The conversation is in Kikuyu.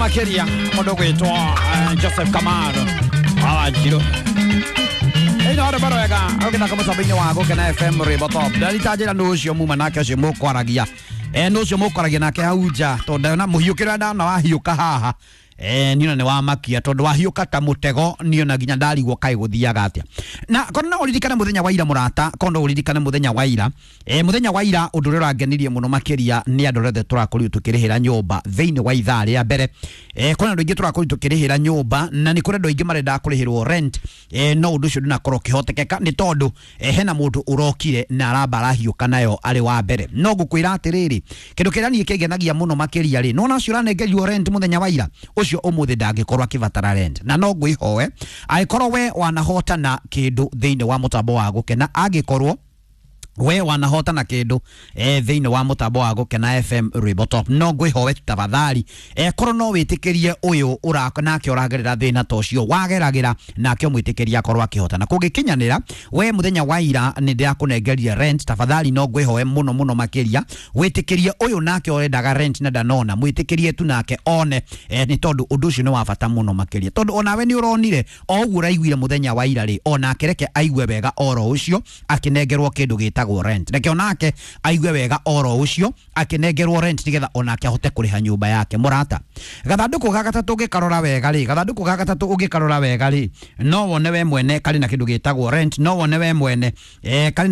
Makiria mundu gwitwo Joseph Kamano wa Wanjiru. Ĩno rwĩmbo rwega ũgĩthaka mũtambo-inĩ wa Gũkena FM rwĩmbo top. Ndarita njĩra nũ ũcio muma nake ũcio mũkwaragia, nũ ũcio mũkwaragia nake hau nja, tondũ ndona mũhiũkĩre ndana wahiũka haha, niĩ nĩ wamakia tondũ wahiũka ta mũtego. Niĩ ona nginya ndarigwo kaĩ gũthiaga atĩa. Na kono no ũririkane mũthenya wa ira, mũrata, kono ũririkane mũthenya wa ira, mũthenya wa ira ũndũ ũrĩa ũrangenirie mũno makĩria nĩ andũ arĩa othe tũrakorirwo tũkĩrĩhĩra nyũmba thĩinĩ wa ithaa rĩa mbere. Kwĩna andũ aingĩ tũrakorirwo tũkĩrĩhĩra nyũmba na nĩ kũrĩ andũ aingĩ marendaga kũrĩhĩrwo rent, no ũndũ ũcio ndũnakorwo ũkĩhotekeka nĩ tondũ hena mũndũ ũrokire na aramba arahiũka nayo arĩ wa mbere. No ngũkwĩra atĩrĩrĩ, kĩndũ kĩrĩa niĩ kĩngenagia mũno makĩria rĩ, nona ũcio ũranengerirwo rent mũthenya wa ira, ũcio ũmũthĩ ndangĩkorwo akĩbatara rent. Na no ngwĩhoe, angĩkorwo we wanahotana kĩndũ thĩinĩ wa mũtambo wa Gũkena, angĩkorwo we wanahotana kindu thiini wa mutambo wa Gukena FM rwimbo top, no ngwihoe tafadhali, korwo no witikirie uyu nake uragerera thina ta ucio wageragira nake, umwitikirie akorwo akihotana. Kungikinyanira we muthenya wa ira ni ndirakunengeria rent, tafadhali no ngwihoe muno muno makiria witikirie uyu nake urendaga rent na ndanona, mwitikirie tu nake one, ni tondu undu ucio ni wa bata muno makiria, tondu onawe ni uronire o uguo uraiguire muthenya wa ira ri, onake reke aigue wega oro ucio akinengerwo kindu gitagwo rent. Reke onake aigue wega oro ucio akinengerwo rent, nigetha onake ahote kuriha nyumba yake. Murata, gathanduku ga gatatu ũngĩkarora wega rĩ, gathanduku ga gatatu ũngĩkarora wega rĩ, no wone we mwene karĩ na kĩndũ gĩtagwo rent. No wone we mwene karĩ na